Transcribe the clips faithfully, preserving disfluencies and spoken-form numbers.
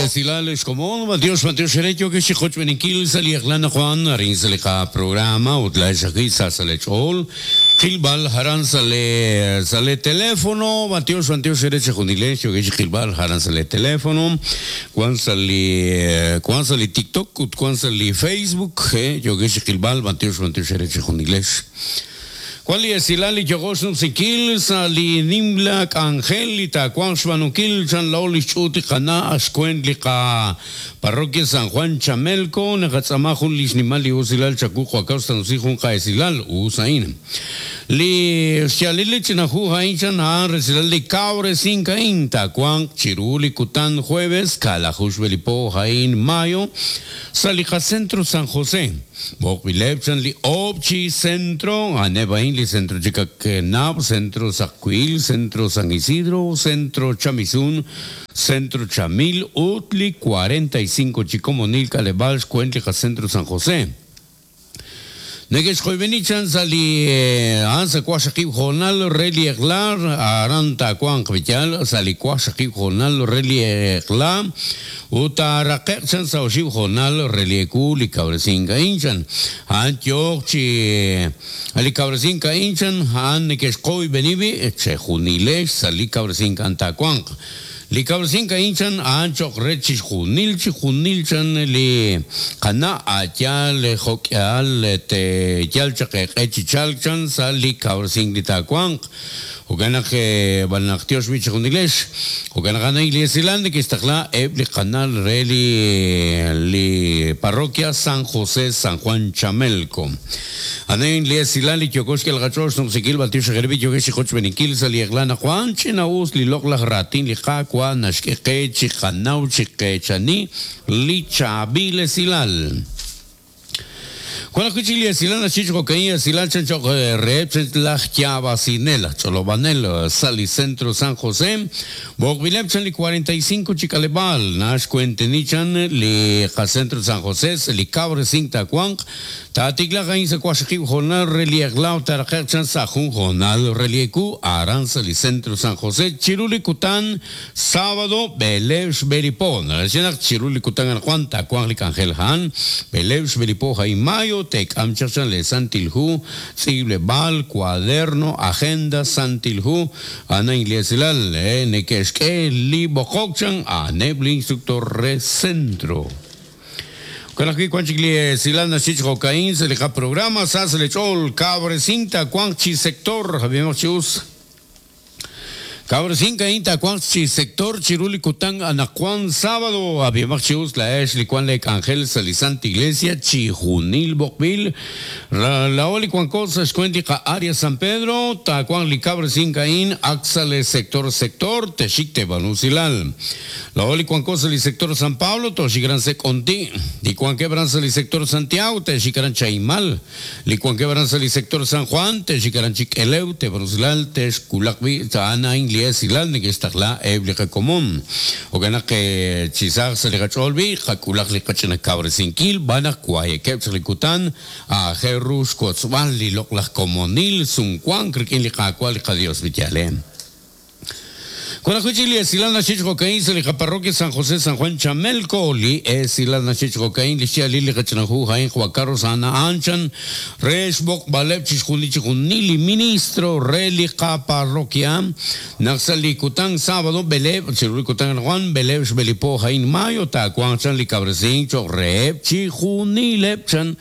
Silal Xkomon, Dios Mateo Xerecho que xikoch beninkil sali Eglana Juan arin sali ka programa utla xaki sa sale chol Kilbal haran sale sale teléfono Mateo Mateo Xerecho junilecho que Kilbal haran sale teléfono Juan sali Juan sali TikTok Juan sali Facebook eh yo que Kilbal Mateo Mateo Xerecho junilecho Cual es ilali yogos nupsikil sali nimlak angelita Juan Xbanukil chan laoli chuti kana ascuendlika parroquia San Juan Chamelco nagatzamajun lisnimali usilal chacujo acausta nusijun kaesilal usain li xalili chinahu hainchan han resilal li cabre cinca inta Juan chiruli kutan jueves kalajush belipo jain mayo salija centro San José Bokbilebchan li obchi centro anebain li centro Chicaquenab, centro Sacuil, centro San Isidro, centro Chamizún, centro Chamil, Utli cuarenta y cinco Chicomonil, Calebal, Cuentlija, centro San José. Negesh Jovenichan sali ansa kuashakib jonal reli eglar aranta kuan kvichal sali kuashakib jonal reli egla utaraqechan saoshib jonal reli ekuli cabrecinca inchan antiochi ali cabrecinca inchan han negesh koi benibi chejunilesh sali cabrecinca antakuan li cabrecinca inchan ancho rechis junil junilchan li kana ayal jokial te yalchaqe echichalchan sali cabrecin litakuan Okanaj banaktios bich junilesh Okanaj iglesia que está ebli canal reli li parroquia San José San Juan Chamelco Anen liesilali kyokoshke el gachos no sikil baltios gerbi yogeshi khoch benikil sali eglana Juan chinaus li lokla ratin li qaqwa nashkeqe chiqanau chiqechani li chabile silal Cuando escuché Silana Chicho Cocaína, Silal Chancho Rep, la Chiabacinela, Cholobanel, Sali Centro San José, Bogvilep Chanli cuarenta y cinco Chicalebal, Nash Cuentenichan, Li Centro San José, Li Cabre Cinta Cuanc, Tatigla Gainza Cuashakib Jonal, Relieglau, Tarajachan Sajun Jonal, Reliecu, Aranza, Li Centro San José, Chiruli Cután, sábado, Belev Beripón, Chiruli Cután, Juan, Tacuan, Licangel Han, Belev Beripo, Jaimayo, Tec Amchachan le Santilhu, Sible Bal, cuaderno, agenda, Santilhu, Ana Iglesialal, Nequesque, Libo Hokchan, Anebli, instructor re centro. Con aquí Cuanchicli Silana Chich Cocaín, se le programa, Sasle Chol, Cabre Cinta, Cuanchi Sector, Javier Chius. Cabrecinca inta cuanchi sector chiruli kutang anacuan sábado abiamachius la esh licuan le angel salisante iglesia chijunil bokbil la oli cuan cosa escuentica área San Pedro tacuan li cabrecinca in axale sector sector techicte banusilal la oli cuan cosa li sector San Pablo toshigran seconti licuan quebranza li sector Santiago techigran chaimal licuan quebranza li sector San Juan techigran chiqueleu te banusilal techculacbi taana in Silal ni que eblica común o gana que chisar se le gacholbi jaculak li cachena cabrecinquil van a cuayequepslicutan a jerus cotzval li loclas comonil suncuan criquin li cacual Dios villale. Con la Silana Chicho Cocaín, se le parroquia San José San Juan Chamelco, li Silana Chicho Cocaín, li Chia Lili Cachanajú, Jaén Juan Carlos Ana Anchan, Resbok Balep Chichunichunili, ministro Relica parroquia, Naxalicután, sábado, Belev, Chirulicután Juan, Belev, Belipo, Jaén Mayo, Tacuan, Chan, Cabrecincho, Rep, Chijunilepchan,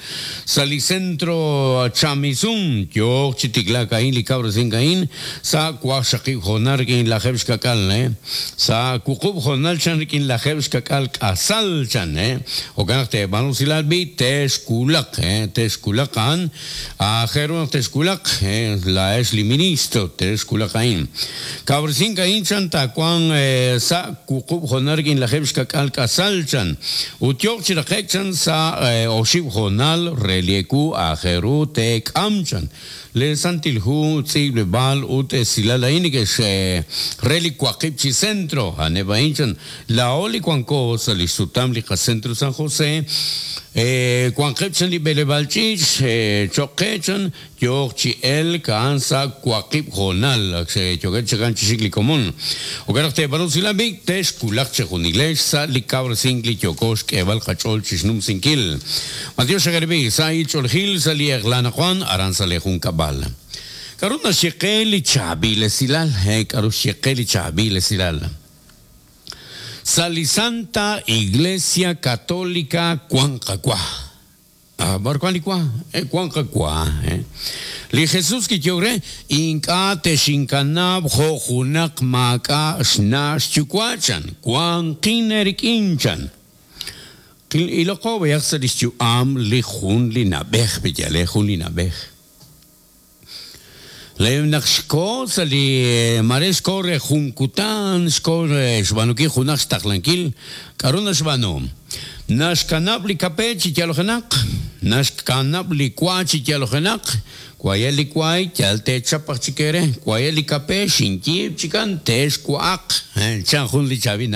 Salicentro Chamizún, Yok, Chiticlacaín, Licabrecín, Caín, Sa Cuashaki, Jonarquín, la Jebshka. Sa kukub jonal chan rikin la jebs kakal kasal chan eh o ganakte banusilal bi teskulak eh teskulakan a jeron teskulak eh la es li ministro teskulakain cabrecin kain chan takuan sa kukub jonal rikin la jebs kakal kasal chan utiok chiraqek chan sa oshib jonal relieku a jeru tek amchan le santilhu tsible bal ut silalaini que se relicuaqipchi centro anebaichan la oli cuanco salisutam lica centro San José eh cuanqepchan li belebalchich eh choquechan Yooq chi elk a'an sa' waqib' hoonal ak yookeb' chikan chi xik li komon. Jo'kan naq teeb'aanu usilal b'i' texwulaq chejunilex sa' li kawresink li yooko xk'eeb'al qach'ool chi xnumsinkil. Matiox xagarib'i sa' ch'oolejil sa' li eq'la anaqwan aran sa' li junkab'al. K'aru naxye qe li chaab'il esilal? K'aru xye qe li chaab'il esilal? Sa' li Santa Iglesia Católica wan qawa. B'ar wan li wa? Wan qawa. Li Jesús kiyok re ink'a' texinkanab' jo' junaq maak'a' xna' xyuwa' chan wanqin eerik'in chan. Iloqo b'ayaq sa' li xyu'am li jun li na'b'ej peyale jun li na'b'ej. Le naq xko sa' li mare xko re jun kutan xko re xb'aanunkil junaq xtaqlankil k'aru naxb'aanu naxkanab' li kape chi yalojenaq naxkanab' li wa chi yalojenaq waye li waay yal teechap aj chik eere waye li kape xinyiib' chikan texwa'aq chan jun li chaab'il na'b'ej.